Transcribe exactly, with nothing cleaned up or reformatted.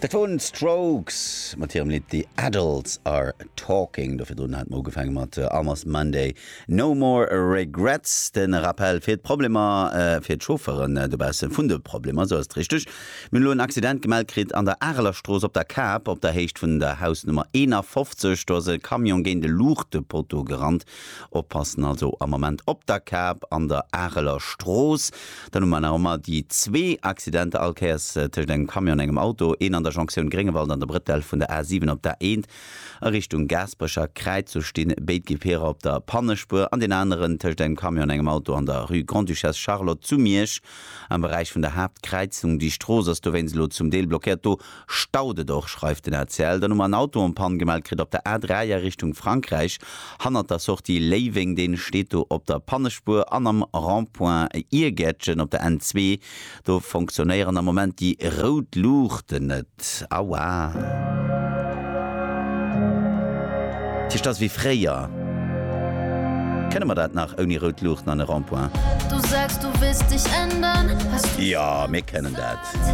Dat woren d'Strokes mat hirem Lidd The Adults Are Talking. Do virdrun hate mer ugefaange mat Almost Monday, No More Regrets. Den Rappel fir d'Problemer, fir d'Chauffeuren dobausse vun de Problemer, sou ass et richteg. Mir hunn elo en Accident gemellt kritt an der Arelerstrooss op der Kap, op der Héicht vun der Hausnummer eenafofzeg. Do ass e Camion géint e Luuchtepotto gerannt. Oppassen also am Moment op der Kap an der Arelerstrooss. Dann hu mer nach ëmmer déi zwee Accidenter all Kéiers tëscht engem Camion an engem Auto, een an der Jonktioun Gréngewald an der Brëtell vun der A siwen op der A eent a Richtung Gaasperecher Kräiz, do sti béid Gefierer op der Pannespuer, an deen aneren tëscht engem Camion an engem Auto an der Rue Grande-Duchesse Charlotte zu Miersch am Beräich vun der Haaptkräizung. Déi Strooss ass dowéinst elo zum Deel blockéiert, do staut et och, schreift den A C L. Dann hu mer en Auto en panne gemellt kritt op der A dräi a Richtung Frankräich hannert der Sortie Léiweng, dee steet do op der Pannespuer, an am Rond-point Iergäertchen op der N zwee, do fonctionnéieren am Moment déi rout Luuchten net. Aua. Dat heescht, ass wéi fréier. Kënne mer dat nach ouni rout Luuchten an e Rond-point? Du sagst, du willst dich ändern, hast du Jo, mir kënnen dat.